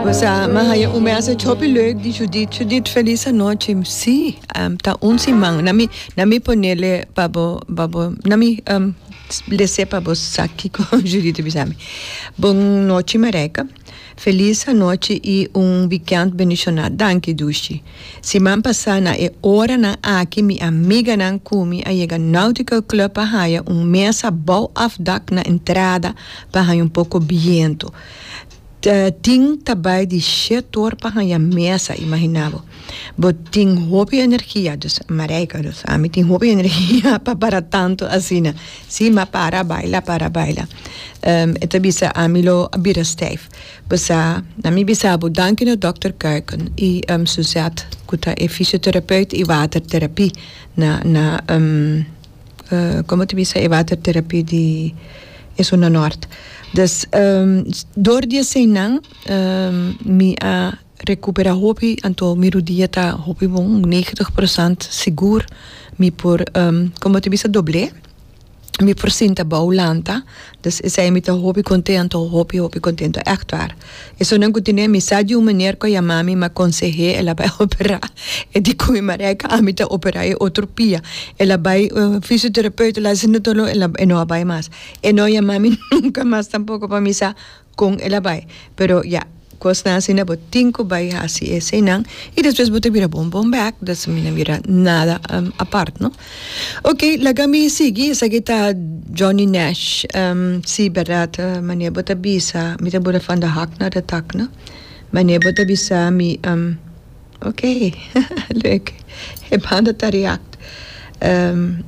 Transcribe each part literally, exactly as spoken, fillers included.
Pues, m'a haya un message hopi leuk di Judith. Judith, feliz anochi. Si, um, ta un siman. Na mi, na mi ponele pa bo, pa bo, na mi um, lese pa bo sa kiko Judith bisa mi. Bon nochi, Marijke. Feliz anochi y un weekend bendiciona. Danki, dushi. Siman pasa na e oranan aki mi amiganan cu mi a yega Nautical Club pa haya un mesa bou afdak na entrada pa haya un poco biento. Tin ta bay di shetor pa haya mesa, imagina bo. Bo tin hopi energia, dus Marijke, dus ami tin hopi energia pa para tanto asina. Si, ma para baila, para baila. Um, e ta bisa ami lo a bira stijf. Bisa, na mi bisa bo danki na Doctor Kuiken y um, Suzette, cu ta e fysiotherapeut y watertherapie na na um, uh, con ta bisa e watertherapie di is na Noord. Dus um, door di eseinan um, mi a recupera hopi, anto mi rudia ta hopi bon, negentig procent sigur mi por um, con ta bisa, doble. Mi por sinta bou lanta, dus esey mi ta hopi contento, hopi hopi contento, echt waar. Eso nan cu tine mi sa di un meneer cu yama mi, m'a conseh'e, el a bay opera. E di cu mi: "Marijke, ami ta opera e otro pia." El a bay uh, fysiotherapeut, la sin tolo, el a, e no a bay mas. E no yama mi nunca mas tampoco pa mi sa con el a bay. Pero ja, cosnan asina bo tin cu bay haci eseinan y despues bo ta bira bon bon back, dus mi no bira nada um, apart, no? Ok, laga mi sigui, esaki ta Johnny Nash. Um, si, berdad, uh, manera bo ta bisa, mi ta bora van de hak naar de tak, no? Manera bo ta bisa mi, um, ok, leuk. E banda ta react. Um,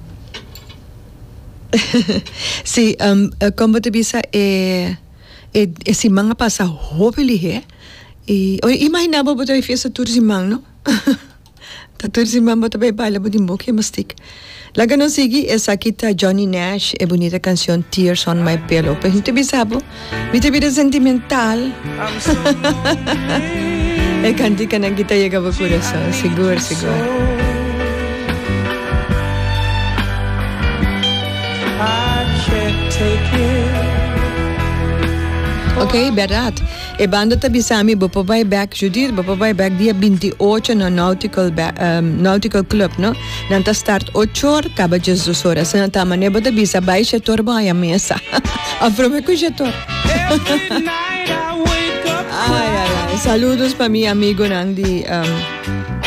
si, um, con bo ta bisa e e, e siman a pasa hopi lihe. E, o, imagina bo bo ta fiesta tur siman, no? Ta tur siman bo ta bay baila, bo di boca mastic. Laga nos sigui, esaki ta Johnny Nash, e bunita cancion "Tears on My Pillow". Pero mi ta bisa bo, mi ta bira sentimental. E canticanan aki ta yega bo curason, sigur, sigur. I can't take it. Ok, berdad. E banda ta bisa mi, bo por bay back, Judith, bo por bay back dia binti ocho na Nautical, um, Nautical Club, no? Nan ta start ocho or, caba diesdos or. Asina ta manera bo ta bisa, bay shetor bo haya mesa. A prome cu shetor. Every night I wake up Ai, ai, ai. Saludos pa mi amigonan di um,